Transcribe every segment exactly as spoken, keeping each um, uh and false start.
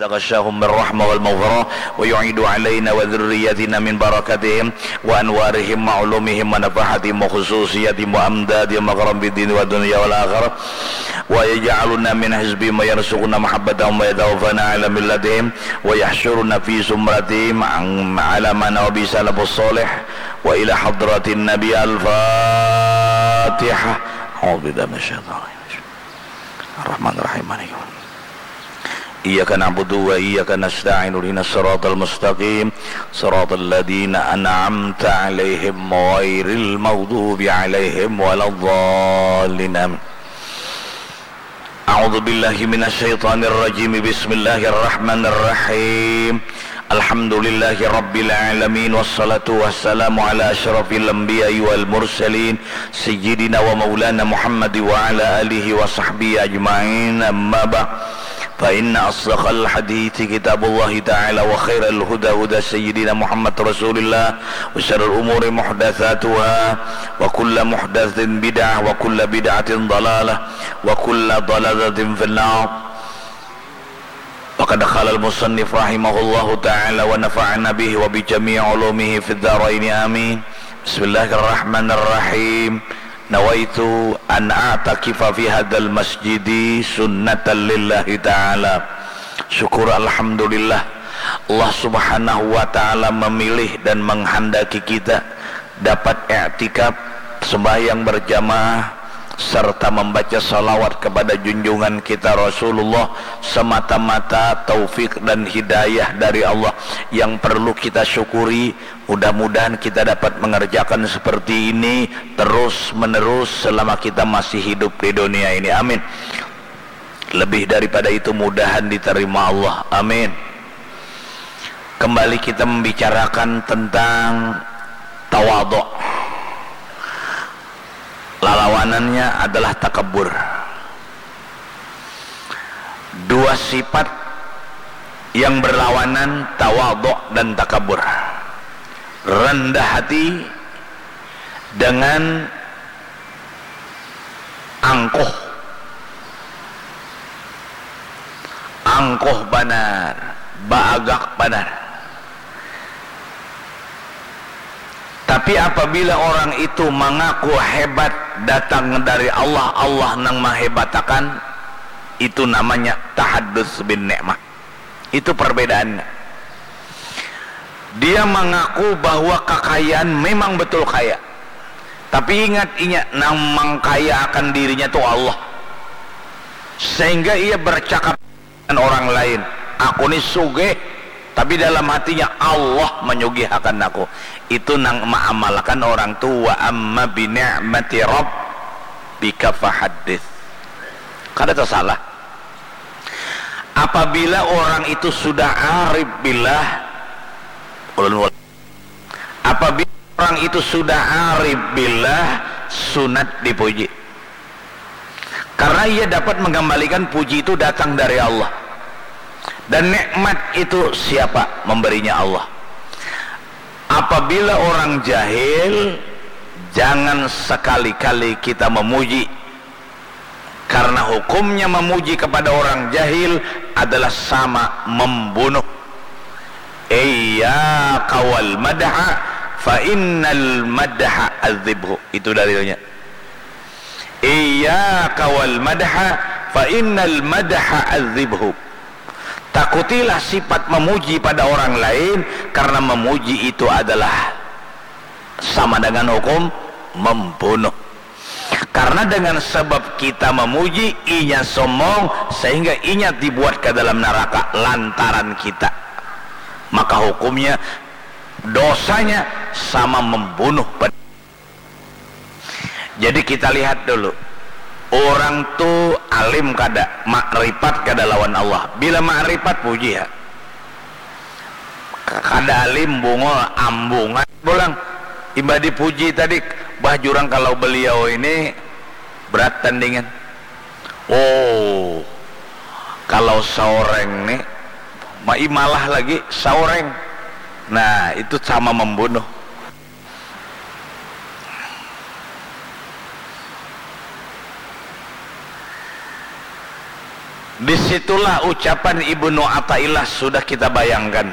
تغشاهم بالرحمة والمغفرة ويعيد علينا وذريتنا من بركاتهم وأنوارهم وعلومهم ونفحاتهم وخصوصياتهم وأمدادهم وكرم في الدين والدنيا والآخرة ويجعلنا من حزبهم ويرزقنا محبتهم ويتوفانا على ملتهم ويحشرنا في زمرتهم على ما نوى به سلف الصالح وإلى حضرة النبي الفاتحة. أعوذ بالله من الشيطان الرجيم. الرحمن الرحيم. إياك نعبد وإياك نستعين. اهدنا الصراط المستقيم. صراط الذين أنعمت عليهم غير المغضوب عليهم ولا الضالين. آمين. أعوذ بالله من الشيطان الرجيم. بسم الله الرحمن الرحيم. الحمد لله رب العالمين، والصلاة والسلام على أشرف الأنبياء والمرسلين، سيدنا ومولانا محمد وعلى آله وصحبه أجمعين. أما بعد، فإن أصدق الحديث كتاب الله تعالى، وخير الهدى هدى سيدنا محمد رسول الله، وشر الأمور محدثاتها، وكل محدثة بدعة، وكل بدعة ضلالة، وكل ضلالة في النار. وقد قال المصنف رحمه الله تعالى ونفعنا به وبجميع علومه في الدارين، آمين. بسم الله الرحمن الرحيم. نويت أن أعتكف في هذا المسجد سنة لله تعالى. Syukur, alhamdulillah, Allah Subhanahu wa Ta'ala memilih dan menghendaki kita dapat iktikaf, sembahyang berjamaah, serta membaca salawat kepada junjungan kita Rasulullah, semata-mata taufik dan hidayah dari Allah yang perlu kita syukuri. Mudah-mudahan kita dapat mengerjakan seperti ini terus-menerus selama kita masih hidup di dunia ini. Amin. Lebih daripada itu, mudahan diterima Allah. Amin. Kembali kita membicarakan tentang tawaduk. Lalawanannya adalah takabur. Dua sifat yang berlawanan, tawaduk dan takabur. Rendah hati dengan angkuh. Angkuh banar, baagak banar. Tapi apabila orang itu mangaku hebat datang dari Allah, Allah nang mahebatakan, itu namanya tahaddus bin nikmah. Itu perbedaannya. Dia mangaku bahwa kakayaan memang betul kaya. Tapi ingat, inya nang mangkayaakan dirinya tu Allah. Sehingga ia bercakap dengan orang lain, "Aku ni sugih," tapi dalam hatinya, "Allah manyugihakan aku." Itu nang maamalakan orang tu, "Wa amma bi ni'mati rabbika fahaddits." Kada tasalah. Apabila orang itu sudah arif billah, ulun, apabila orang itu sudah arif billah, sunat dipuji. Karena ia dapat mengembalikan puji itu datang dari Allah. Dan nikmat itu siapa? Memberinya Allah. Apabila orang jahil, jangan sekali-kali kita memuji. Karena hukumnya memuji kepada orang jahil adalah sama membunuh. Iyyaka wal madha, fa innal madha adzibhu. Itu dalilnya. Iyyaka wal madha, fa innal madha adzibhu. Takutilah sifat memuji pada orang lain, karena memuji itu adalah sama dengan hukum membunuh. Karena dengan sebab kita memuji, inya sombong, sehingga inya dibuat ke dalam neraka lantaran kita. Maka hukumnya, dosanya sama membunuh. Jadi kita lihat dulu, orang tu alim kada, makrifat kada lawan Allah. Bila makrifat, puji ya. Kada alim, bungul, ambungan pulang. Imbah dipuji tadi, bah jurang kalau beliau ini berat tandingan. Oh, kalau saureng nih, maimalah lagi saureng. Nah, itu sama membunuh. Disitulah ucapan Ibnu Athaillah sudah kita bayangkan.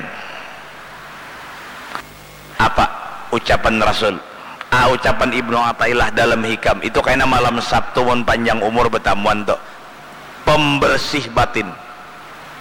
Apa ucapan Rasul? Ah, ucapan Ibnu Athaillah dalam Hikam itu, kaina malam Sabtu mun panjang umur betamuan tu, pembersih batin.